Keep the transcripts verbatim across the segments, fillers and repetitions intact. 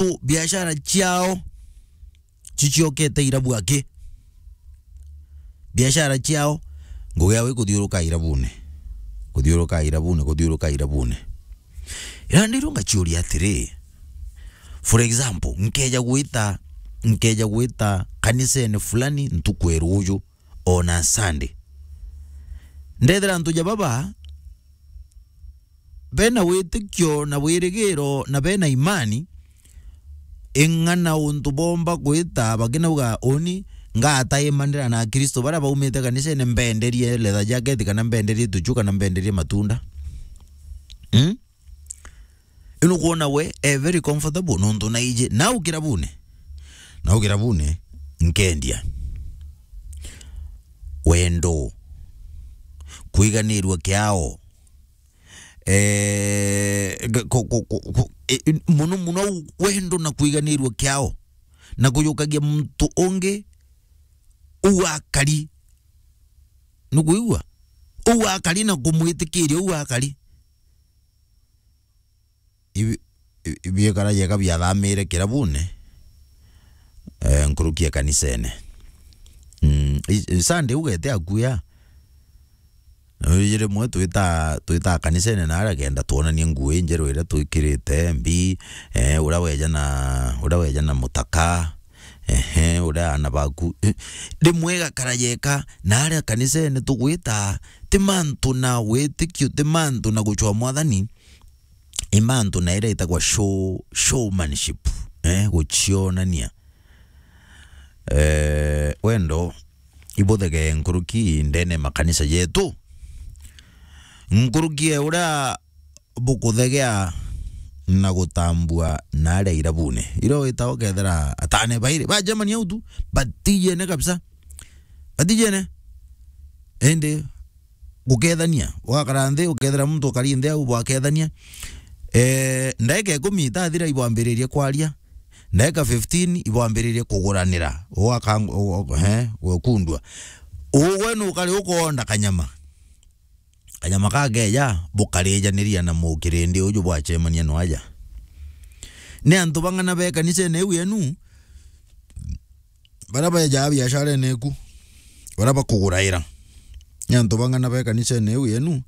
antu biashara ciao ciciokete irabu aki. Biashara ciao, ngugi yao ikuthiuruka irabune. Kuthiuruka irabune, kuthiuruka irabune. Ira ndirwo ngaciuria atiri, for example, nkeja gwita, nkeja gwita kanisene fulani ntuku ya ruuju, ona Sunday. Ndethira antu ja baba bena witikio na wirigiro na bena imani, ing'ana untu bomba gwita bakinauga, uni ngataimanira na Akristo baria baumite kanisene, mbenderie leather jacket, kana mbenderie tuchu, kana mbenderie matunda. Hmm? Ino kwona we e very comfortable nontu naiji nau kirabune. Nau kirabune nkendia. Wendo. Kwiganirua kiao. Eh, ga- ko- ko- ko- ko- e- e- muno muno wendo na kwiganirua kiao. Na kujukagia muntu ungi uu akari. Nukwigua? Uu akari na kumwitikiria uu akari. Ibi- ibi- ibiekara jeka biathamire kirabune, eh, nkuruki ya kanisene. Mm, i- i- Sunday ugete akuya. Na riji rimwe twita, twita kanisene na aria kenda twonanie nguo injeru iria twikirite mbi, eh, uria weja na, uria weja na mutaka, ehe, uria ana baku. Eh, rimwe igakara jeka na aria kanisene tugwita, ti mantu na witikio, ti mantu na gucwa mwathani, i mantu na iria itagwa show, showmanship, eh, gucionania. Eh, wendo ibuthege nkuruki ndene makanisa jetu. Nkuruki e uria bukuthegea na gutambua na aria irabune. Iria wita ukethira atane bairi, ba Germany au tu, batijene kabisa. Batijene. Indi gukethania, ugakara nthi, ukethira muntu ukari nthi au bwakethania. Eh, ndaika ikumi itathira ibwambiririe kwaria. Ndaika fifteen ibwambiririe kuguranira. Ugakang-, u-, u-, eh, gukundua. Ugwe nukari ukoonda kanyama. Kanyama kakeja, bukarijaniria na mukirindi uju bwacemania no aja. Ni antu bang'ana be kanisene iu yenu, baria bejaa biasharene eku, baria bakuguraira. Ni antu bang'ana be kanisene iu yenu,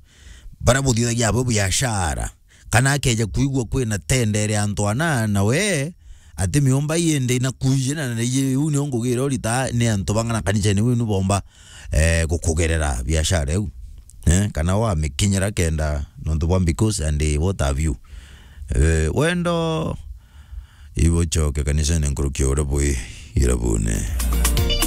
baria buthithagia abo biashara. Kana akeja kwigua kwina tendere antu ana, na we ati miumba indi na kuijina na iu nio ngugira urita ni antu bang'ana kanisene iu yenu bomba, eh, gukugerera biashara iu. Eh, kana wamikinyira kenda nontu bwa because and, eh, what have you. Eh, wendo ibucoke kanisene nkuruki uria bwi irabune.